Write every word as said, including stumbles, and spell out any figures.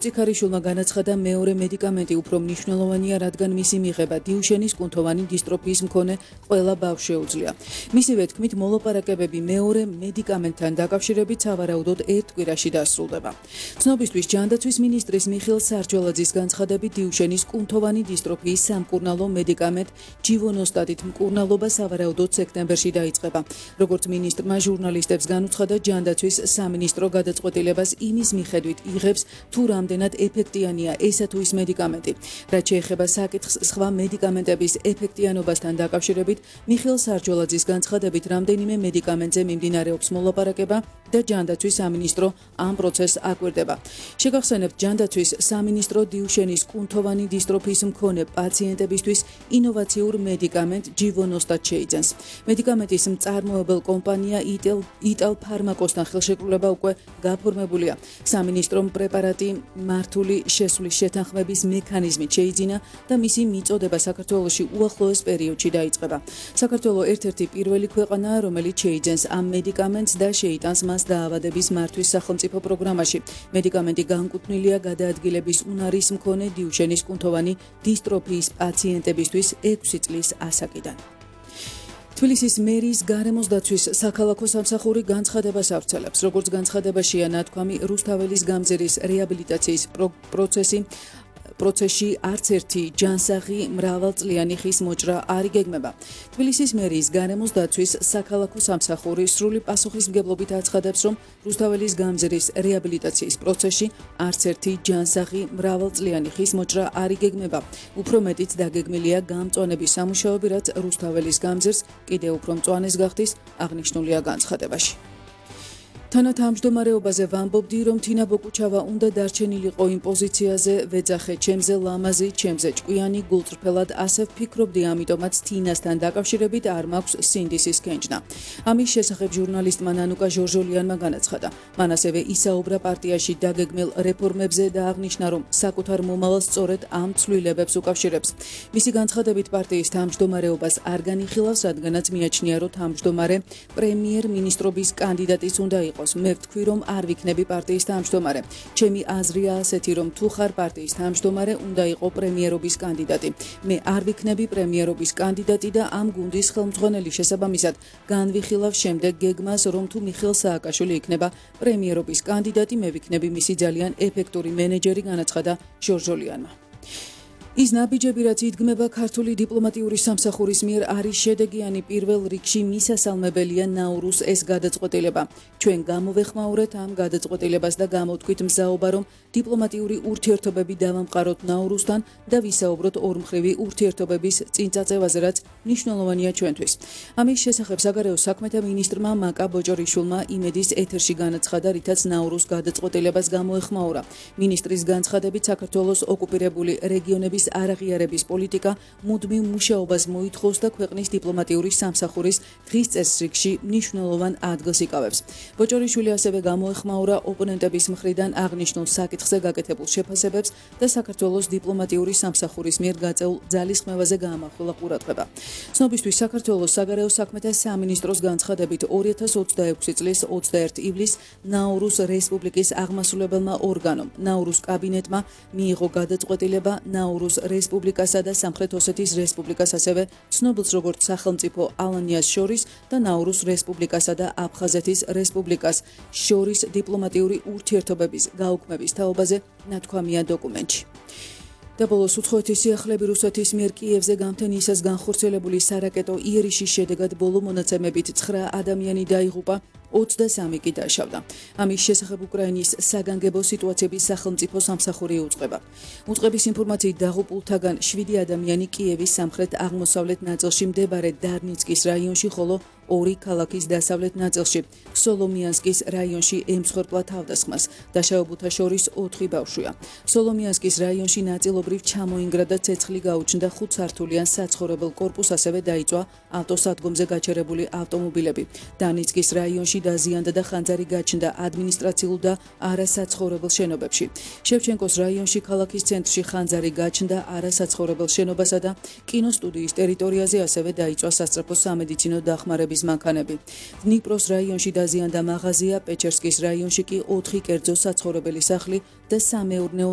წიქარიშვილმა განაცხადა, მეორე მედიკამენტი უფრო მნიშვნელოვანია, რადგან მისი მიღება დიუშენის კუნთოვანი დისტროფიის მქონე ყველა ბავშვს შეუძლია. მისივე თქმით, მოლაპარაკებები მეორე მედიკამენტთან დაკავშირებით სავარაუდოდ ერთ კვირაში დასრულდება. ცნობისთვის, ჯანდაცვის მინისტრის მიხეილ სარჯველაძის განცხადებით, დიუშენის კუნთოვანი დისტროფიის სამკურნალო მედიკამენტ ჯივონოსტატით მკურნალობა სავარაუდოდ სექტემბერში დაიწყება. როგორც მინისტრმა ჟურნალისტებს განუცხადა, ჯანდაცვის სამინისტრო გადაწყვეტილებას იმის მიხედვით იღებს, თუ რამდენად ეფექტიანია ესა თუ ის მედიკამენტი. რაც შეეხება საკითხს სხვა მედიკამენტების ეფექტიანობასთან დაკავშირებით, მიხეილ სარჯველაძის განცხადებით, რამდენიმე მედიკამენტზე მიმდინარეობს მოლაპარაკება და ჯანდაცვის სამინისტრო ამ პროცესს აკვირდება. შეგახსენებთ, ჯანდაცვის სამინისტრო დიუშენის კუნთოვანი დისტროფიის მქონე პაციენტებისთვის ინოვაციურ მედიკამენტ ჯივონოსტატს შეიძენს. მედიკამენტის მწარმოებელ კომპანია იტალ ფარმაკოსთან ხელშეკრულება უკვე გაფორმებულია. სამინისტრომ პრეპარატი მართული შესვლის შეთანხმების მექანიზმით შეიძინა და მისი მიწოდება საქართველოში უახლოეს პერიოდში დაიწყება. საქართველო ერთ-ერთი პირველი ქვეყანაა, რომელიც შეიძენს ამ მედიკამენტს და შეიტანს მას დაავადების მართვის სახელმწიფო პროგრამაში. მედიკამენტი განკუთვნილია გადაადგილების უნარის მქონე დიუშენის კუნთოვანი დისტროფიის პაციენტებისთვის ექვსი წლის ასაკიდან. თბილისის მერის გარემოს დაცვის საქალაქო სამსახური განცხადებას ავრცელებს. როგორც განცხადებაშია ნათქვამი, რუსთაველის გამზირის რეაბილიტაციის პროცესი პროცესში არც ერთი ჯანსაღი მრავალწლიანი ხის მოჭრა არ იგეგმება. თბილისის მერის გარემოს დაცვის საქალაქო სამსახური სრული პასუხისმგებლობით აცხადებს, რომ რუსთაველის გამზირის რეაბილიტაციის პროცესში არც ერთი ჯანსაღი მრავალწლიანი ხის მოჭრა არ იგეგმება. უფრო მეტიც დაგეგმილია გამწვანების სამუშაოები, რაც რუსთაველის გამზირს კიდევ უფრო მწვანეს გახდის, აღნიშნულია განცხადებაში. თანათავმჯდომარეობაზე ვამბობდი, რომ თინა ბოკუჩავა უნდა დარჩენილიყო იმ პოზიციაზე, ვეძახე ჩემზე ლამაზი, ჩემზე ჭკვიანი, გულწრფელად ასე ვფიქრობდი, ამიტომაც თინასთან დაკავშირებით არ მაქვს სინდისის კენჭნა. ამის შესახებ ჟურნალისტმა ნანუკა ჟორჟოლიანმა განაცხადა. მან ასევე ისაუბრა პარტიაში დაგეგმილ რეფორმებზე და აღნიშნა, რომ საკუთარ მომავალს სწორედ ამ ცვლილებებს უკავშირებს. მისი განცხადებით, პარტიის თავმჯდომარეობას არ განიხილავს, რადგანაც მიაჩნია, რომ თავმჯდომარე პრემიერ-მინისტრობის კანდიდატიც უნდა იყოს. მე ვთქვი, რომ არ ვიქნები პარტიის თავმჯდომარე. ჩემი აზრია ასეთი, რომ თუ ხარ პარტიის თავმჯდომარე, უნდა იყო პრემიერობის კანდიდატი. მე არ ვიქნები პრემიერობის კანდიდატი და ამ გუნდის ხელმძღვანელი. შესაბამისად, განვიხილავ შემდეგ გეგმას, რომ თუ მიხეილ სააკაშვილი იქნება პრემიერობის კანდიდატი, მე ვიქნები მისი ძალიან ეფექტური მენეჯერი, განაცხადა ჟორჟოლიანმა. ის ნაბიჯები, რაც იდგმება ქართული დიპლომატიური სამსახურის მიერ, არის შედეგიანი. პირველ რიგში მისასალმებელია ნაურუს ეს გადაწყვეტილება. ჩვენ გამოვეხმაურეთ ამ გადაწყვეტილებას და გამოვთქვით მზაობა, რომ დიპლომატიური ურთიერთობები დავამყაროთ ნაურუსთან და ვისაუბროთ ორმხრივი ურთიერთობების წინწაწევაზე, რაც მნიშვნელოვანია ჩვენთვის. ამის შესახებ საგარეო საქმეთა მინისტრმა მაკა ბოჭორიშვილმა იმედის ეთერში განაცხადა, რითაც ნაურუს გადაწყვეტილებას გამოეხმაურა. მინისტრის განცხადებით, საქართველოს ოკუპირებული რეგიონების არაღიარების პოლიტიკა მუდმივ მუშაობას მოითხოვს და ქვეყნის დიპლომატიური სამსახურის დღის წესრიგში მნიშვნელოვან ადგილს იკავებს. ბოჭორიშვილი ასევე გამოეხმაურა ოპონენტების მხრიდან აღნიშნულ საკითხზე გაკეთებულ შეფასებებს და საქართველოს დიპლომატიური სამსახურის მიერ გაწეულ ძალისხმევაზე გაამახვილა ყურადღება. ცნობისთვის, საქართველოს საგარეო საქმეთა სამინისტროს განცხადებით, ორი ათას ოცდაექვსი წლის ოცდაერთი ივლისს ნაურუს რესპუბლიკის აღმასრულებელმა ორგანომ, ნაურუს კაბინეტმა მიიღო გადაწყვეტილება ნაურუს რესპუბლიკასა და სამხრეთ ოსეთის რესპუბლიკას, ასევე ცნობილს როგორც სახელმწიფო ალანიას შორის და ნაურუს რესპუბლიკასა და აფხაზეთის რესპუბლიკას შორის დიპლომატიური ურთიერთობების გაუქმების თაობაზე ნათქვამია დოკუმენტში. და ბოლოს უცხოეთის სიახლეები რუსეთის მიერ კიევზე გამთენიისას განხორციელებული სარაკეტო იერიშის შედეგად ბოლო მონაცემებით ცხრა ადამიანი დაიღუპა, ოცდასამი კი დაშავდა. ამის შესახებ უკრაინის საგანგებო სიტუაციების სახელმწიფო სამსახური უწყება. უწყების ინფორმაციით დაღუპულთაგან შვიდი ადამიანი კიევის სამხრეთ-აღმოსავლეთ ნაწილში მდებარე დარნიცკის რაიონში, ხოლო ორი ქალაქის დასავლეთ ნაწილში, სოლომიანსკის რაიონში ემსხვერპლა თავდასხმას. დაშავებულთა შორის ოთხი ბავშვია. სოლომიანსკის რაიონში ნაწილობრივ ჩამოინგრა და ცეცხლი გაუჩნდა ხუთსართულიან საცხოვრებელ კორპუსს, ასევე დაიწვა ავტოსადგომზე გაჩერებული ავტომობილები. დარნიცკის რაიონში დაზიანდა და ხანძარი გაჩნდა ადმინისტრაციულ და არასაცხოვრებელ შენობებში. შევჩენკოს რაიონში ქალაქის ცენტრში ხანძარი გაჩნდა არასაცხოვრებელ შენობასა და კინოსტუდიის ტერიტორიაზე, ასევე დაიწვა სასწრაფო სამედიცინო დახმარების მანქანები. დნიპროს რაიონში დაზიანდა მაღაზია, პეჩერსკის რაიონში კი ოთხი კერძო საცხოვრებელი სახლი და სამეურნეო